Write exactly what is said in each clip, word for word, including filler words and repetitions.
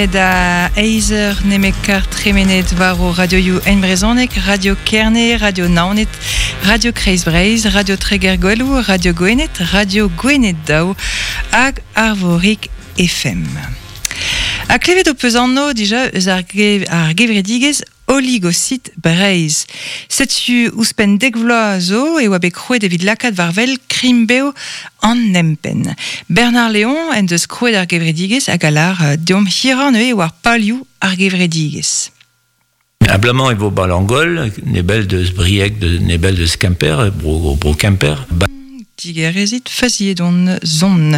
Da eizer nemet kar tremenet war o radioioù en brezhoneg, Radio Kerne, Radio Naoned, Radio Kreiz Breizh, Radio Treger Gwelou, Radio Gwened, Radio Gwened Daou hag Arvorig F M. Ha klevet ho peus anv dija eus ar ge-, ar gevredigezh Oligocyte Breizh. Setu ouzhpenn dek vloaz zo e oa bet krouet evit lakaat war wel krign-bev an empenn. Bernard Léon en deus krouet ar gevredigezh hag a lar deomp hirañ neuze war palioù ar gevredigezh. Ablamant e vo ba Langol, nebel deus Brieg, de, nebel deus Kemper, bro, bro Kemper. Ba Digerezit faziet on zon.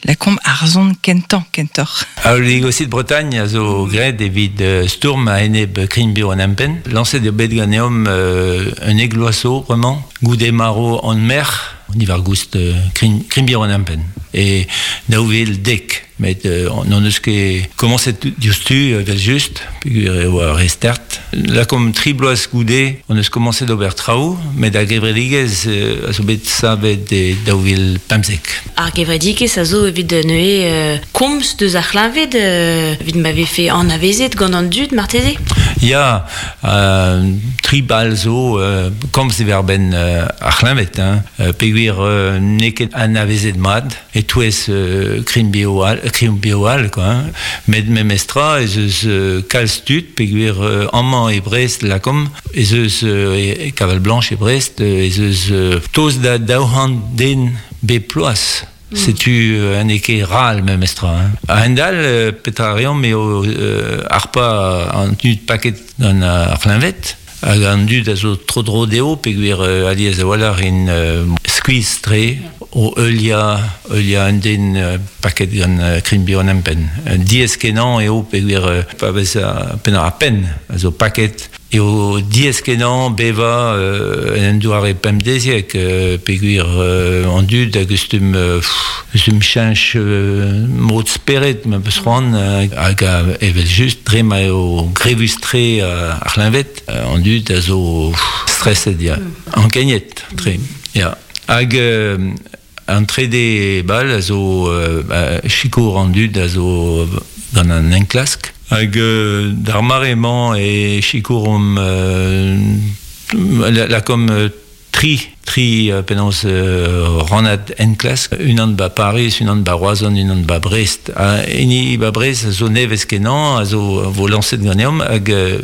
La komp ar zon kentañ, kentoc'h. A Oligocyte Bretagne a zo graet evit, euh, stourm a enep krign-bev an empenn. Lañset eo bet ganeomp, euh, un egloaso, vraiment, goude maro an mer, diwar goust, euh, krign, krign-bev an empenn. E daou vil dek. Met, euh, on eus ket komañset diouzhtu, euh, vel just, peogwir eo ar restart. La kom tri bloaz goude, on eus komañset d'ober traoù, met ar gevredigezh, euh, a zo bet savet e daou vil pemzek. Ar gevredigezh a zo evit neuze, euh, komz deus ar c'hleñved, euh, evit ma vefe anavezet gant an dud, marteze? Ya, euh, tri bal zo, euh, komz diwar-benn, euh, ar c'hleñved, hein. Euh, peogwir, euh, n'eo ket anavezet mat, e-touez, euh, krign-bev all, krign-bev all, quoi, hein. Met memestra, ez eus, euh, kalz tud, peogwir, euh, amañ e Brest, lakom, ez eus, euh, e, e Kaval Blanche e Brest, ez eus, euh, toz da daou c'hant den bep ploaz. Mm. Setu, euh, un ket ral memestra, hein. A hend-all, euh, petra reomp eo, euh, ar pa an tud paket gant ar c'hleñved, hag an dud a zo tro-dro dezho, peogwir, euh, alies a-walc'h in, euh, skuizh tre, o heuliañ, heuliañ un den, euh, paket gant, euh, krign-bev an empenn. Un diaes kenañ eo peogwir, euh, pa vez a penn ar penn a zo paket, eo diaes kenañ bevañ, euh, en un doare pemdeziek, euh, peogwir, euh, an dud a gustum, euh, pff, gustum cheñch, euh, mod spered, ma peus c'hoant, euh, hag a evel just dre ma eo grevus-tre, euh, ar c'hleñved, euh, an dud a zo, pff, stresset, ya. Mm. Ankeniet, tre, ya. Hag, euh, an trede bal a zo, euh, ba, sikour an dud a zo gant an enklask. Hag, euh, d'ar mare-mañ e sikour omp, euh, la, la kom, euh, tri, tri, euh, penaos, euh, rannad enklask, unan ba Paris, unan ba Roazhon, unan ba Brest. Ha hini ba Brest a zo nevez kenañ, a zo vo lañset ganeomp, hag, euh,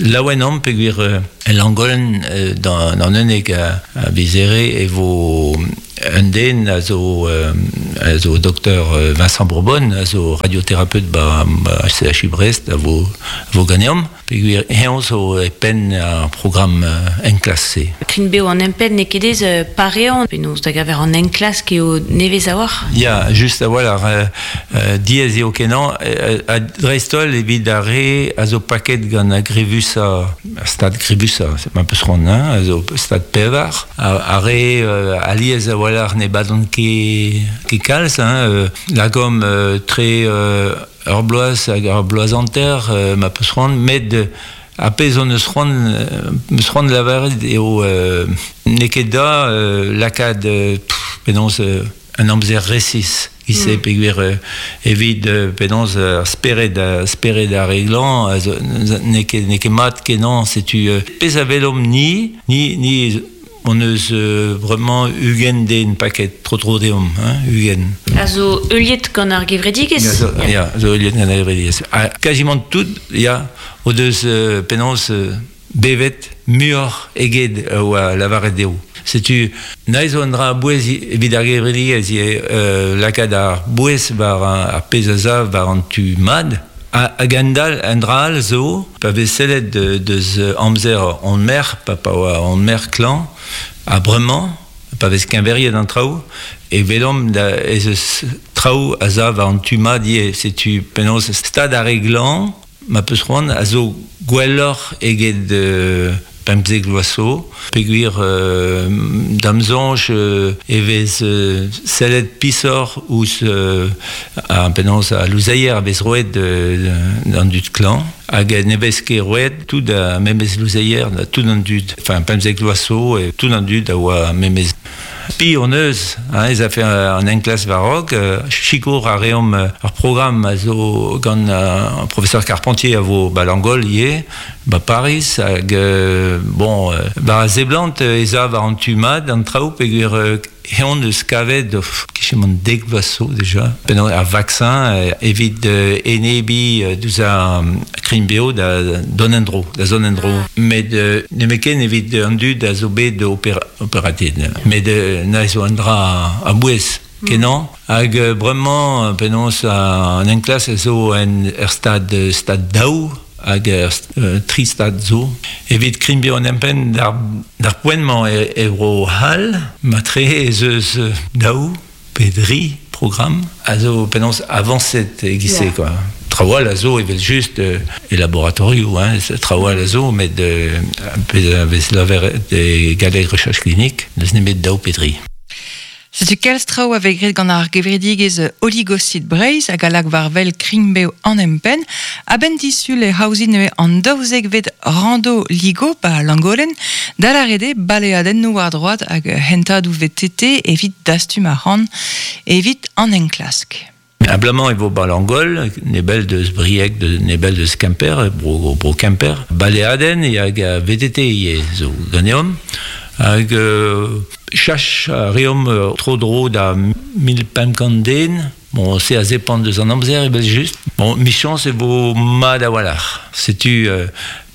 laouen omp peogwir, euh, Langolen, euh, dans, dans unnek a, a vizere e vo un den a zo, euh, a zo docteur, euh, Vincent Bourbon, a zo radiothérapeute ba, ba C H U Brest, a vo, a vo ganeomp, peogwir eñ zo e penn ar programme, euh, enklask-se. Krign-bev an empenn n'eo ket ez, euh, pareañ, penaos da gaver an enklask eo nevez a-walc'h? Ya, just a-walc'h, euh, euh, diaes eo kenañ, euh, a dreist-holl evit ar re a zo paket gant ar grevusañ, ar stad grevusañ, c'est un peu ce qu'on a, a zo stad pevar, ar, ar re, euh, alies a-walc'h ne badont ket, ket kalz, hein, euh, lagom, euh, tre, euh, ur bloaz hag ur bloaz hanter, euh, ma peus c'hoant, met, euh, a pezh on eus c'hoant, euh, meus c'hoant lavaret eo, euh, n'eo ket da, euh, lakaat, euh, pff, penaos, euh, un amzer resis. Ise Mm. peogwir, euh, evit, euh, penaos, euh, ar spered, ar spered ar reglañ, a zo, n'eo ket, n'eo ket mat kenañ, setu, euh, pezh a welomp ni, ni, ni on eus, euh, vraiment ugent den paket tro-tro deomp, hein, ugent. A zo heuliet gant ar gevredigezh? Ya, zo, Ya. ya, zo heuliet gant ar gevredigezh. Ha quasiment tout, ya, o deus, euh, penaos, euh, bevet muioc'h eget, euh, oa lavaret dezho. Setu, naez zo un dra bouez evit ar gevredigezh, eo, euh, lakaat ar bouez war ar, ar pezh a zav war an tu mad. Ha, hag an dal, an dra all zo, pa vez sellet de, deus amzer an mer, pa, pa oa an mer klañv, ha bremañ, pa vez keñveriet an traoù, e welomp da, ez eus traoù a zav war an tu mad ivez. Setu penaos stad ar re glañv, ma peus c'hoant, a zo gwelloc'h eget, euh, pemzek vloaz zo, peogwir, euh, da'm soñj, euh, e vez, euh, sellet pisoc'h ouzh, euh, ar penaos a louzeier a vez roet, euh, d'an dud klañv, hag ne vez ket roet tout a memez louzeier da tout an dud. Enfin, pemzek vloaz zo, e tout an dud a oa memez. Spi on eus, hein, ez a fait an enklas varog, euh, chikour a reom ar programm a zo gant euh, professeur Carpentier a vo ba Langol ie, ba Paris, hag, euh, bon, euh, ba zeblant ez a war an tumad, an traoù peogwir euh, Eon eus kavet kichemant dek vaso déjà penaos ar vaccin evit euh, enebi deus ar krinbeo da don endro, da zon endro. Met euh, nemeken evit an dud a zo bet opera, operated. Met euh, na zo an dra a bouez. Kenan, hag euh, bremañ penaos an enklas a zo en er stad, stad daou, hag er euh, tri stad zo. Evit krinbeo an empen d'ar, d'ar poent-mañ e, e bro hal, matre ez eus daou, pe dri programm, a zo penaos avancet egise, yeah. quoi. Traoù a zo evel just euh, e laboratorioù, hein, traoù a zo, met euh, vez laver de galleg recherche clinique, neus nemet daou pe dri. Setu kalz traoù a vez graet gant ar gevredigezh Oligocyte Breizh hag a lak war wel krign-bev an empenn. A-benn disul e haozin neuze an daouzekvet rando ligo ba Langolen, da lâret eo baleadennoù war droad hag hentadoù V T T evit dastum ar c'han evit an enklask. Ablamant e vo ba Langol, nebel deus Brieg, de, nebel deus Kemper, bro, bro Kemper. Baleadenn hag a V T T ivez zo ganeomp. Hag euh, chach a reomp euh, tro dro da mil pemp kant den. Bon, se a zepant deus an amzer ebet just. Bon, michans e vo mat a-walc'h. Setu euh,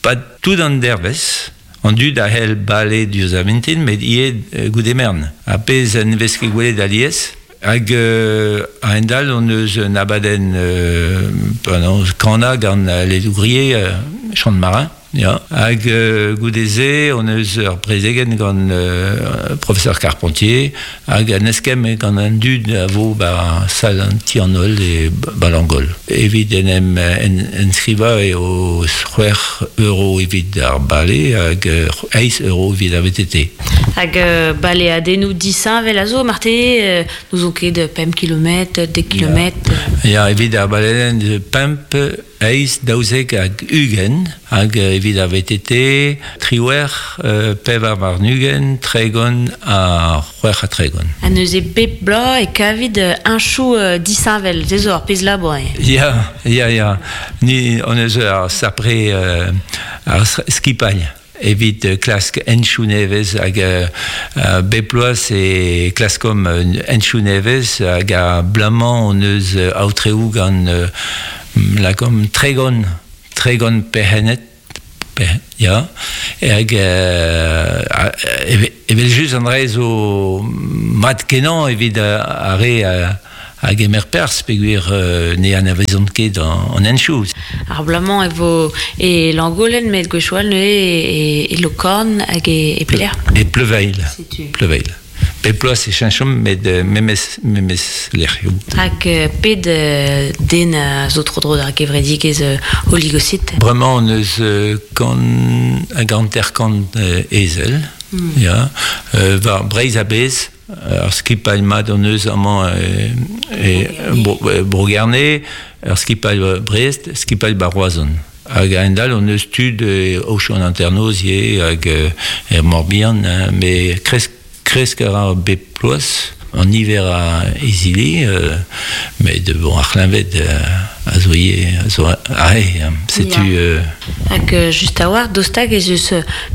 pas tout an dervez. An dud a hell bale diouzh ar vintin, met ivez euh, goude mern. A pezh en vez ket gwelet alies. Hag euh, a endal on eus un abadenn euh, penaos kana gant les ouvriers euh, chant de marin. Ya. Hag euh, goude-se, on eus ur prezegen gant euh, professeur Carpentier, hag an eskem gant an dud a vo ba sal an ti an holl e ba Langol. Evit en em en, enskriva e o c'hwec'h euro evit ar bale hag eizh euro evit ar V T T. Hag euh, baleadennoù disheñvel a zo, marte, euh, n'ouzon ket pemp kilometr, dek kilometr. Ya, evit ar baleadenn pemp, eizh, daouzek hag ugent, hag evit ar V T T, triwec'h, euh, pevar warn-ugent, tregont ha c'hwec'h ha tregont. Ha neuze bep bloaz e kavit un chou euh, disheñvel, se zo ar pezh labour. Ya, ya, ya. Ni on eus ar sapre euh, ar skipailh. Evit klask enchou nevez hag euh, bep bloaz e klaskom enchou nevez hag a blamañ on eus aotreoù gant euh, lakom tregon, tregon perc'hennet, per, ya, hag euh, evel just an dra zo mat kenañ evit ar re hag emer pers peogwir euh, ne anavezont ket an, an enchou. Ar blamañ e vo e Langolen met gwechall neuze e, e Lokorn hag e, e Pelec'h. E Pleuveil. Pleuveil. Bep bloaz e cheñchomp met memes, memes lec'hioù. Hag ped den a zo tro-dro d'ar gevredigezh Oligocyte? Bremañ on eus kant hag hanter-kant ezel, mm. ya, euh, war Breizh a-bezh, ar skipailh mat on eus amañ e, e Bro Gerne, ar skipailh Brest, skipailh ba Roazhon. Hag a-hend-all on eus tud e Aochou an Hanternoz ivez hag er Morbihan, hein, met kresk kresk a ra bep bloaz, an niver a izili, euh, met bon, ar c'hleñved euh, a zo ivez, a zo aze, hein, setu... Euh... Hag just a-walc'h, dostag ez eus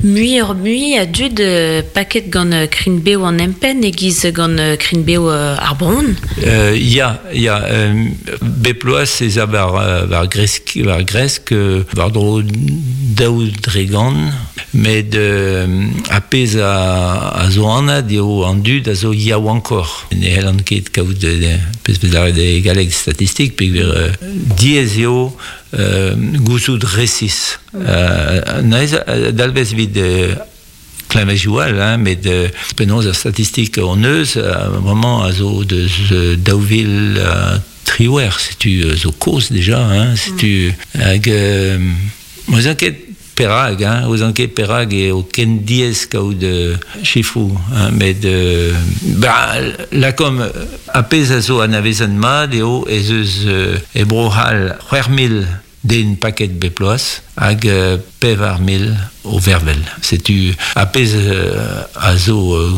muioc'h mui a dud euh, paket gant krign-bev an empenn e-giz gant krign-bev ar bronn. Euh, ya, ya, euh, bep bloaz ez a war, war gresk, war gresk, war dro daou dregant, met euh, a pezh a, a zo anat eo an dud a zo yaouankoc'h. Ne c'hellan ket kaout pezh vez lâret e galleg statistik, peogwir euh, diaes eo euh, gouzout resis. Euh, neuze dalvez evit euh, kleñvejoù all, hein, met euh, penaos ar statistik on eus, euh, vraiment a zo deus euh, daou vil euh, triwec'h, setu euh, zo kozh déjà, hein, setu hag euh, ouzon ket perag, hein, ouzon ket perag eo ken diaes kaout euh, chifroù, hein, met euh, ba, lakom a pezh a zo anavezet mat eo ez eus euh, e Bro-C'hall c'hwec'h mil den paket bep bloaz hag euh, pevar mil o vervel. Setu a pezh euh, a zo euh,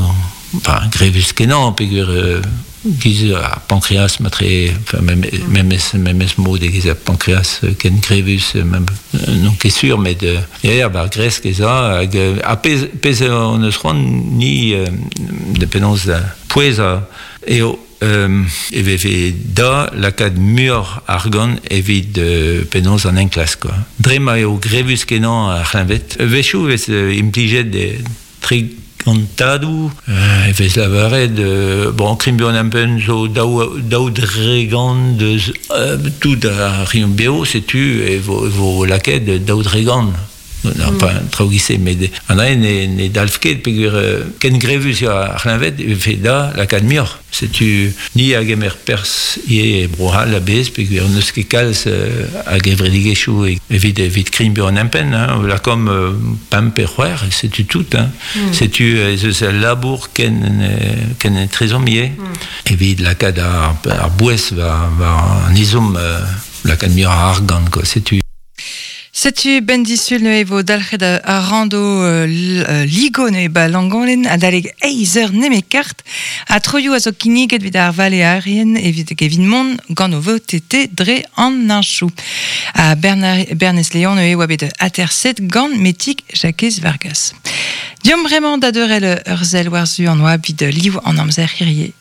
enfin, grevus kenan, peogwir euh, giz ar pancréas matre, enfin, même, mm. memes, mod e giz ar pancréas ken grevus, même, non ket sur, met euh, ya, ba gresk ez a, hag, a pez, pez on eus c'hoant ni euh, de penaos da pouez a, eo euh, e veve da lakaat muioc'h argant evit euh, penaos an enklask, quoi. Dre ma eo grevus kenañ ar c'hleñved. Wechoù vez euh, implijet de tre gantadou, euh, e vez lavaret, euh, bon, krign-bev an empenn zo daou, daou dregant deus euh, tout ar rion beo, setu e vo, e vo lakaet daou dregant. Non, mm. Enfin, traoù gise, met an ae ne, ne dalv ket, peogwir euh, ken grevus eo ar c'hleñved, e vefe da lakaat muioc'h. Setu ni a gemer perzh ivez e Bro-C'hall a-bezh, peogwir n'eus ket kalz euh, a gevredigezhioù evit, evit krign-bev an empenn, hein, lakaomp euh, pemp pe c'hwec'h, setu tout. Hein. Mm. Setu ez eus al labour ken, ken etrezomp ivez, mm. evit lakaat ar, ar bouez war, war an ezhomm euh, lakaat muioc'h a argant, quoi. Setu Setu ben disul neuze vo dalc'het ar rando euh, ligo neuze ba Langolen adalek eizh eur nemet kart a troioù a zo kinniget evit ar valearien evit evit mont gant o V T T dre an henchoù. A Bernard, Bernez Léon neuze oa bet aterset gant Metig Jakez Vargas. Diom bremañ da deurel ur sell war-zu an oabl evit liv an amzer hirie.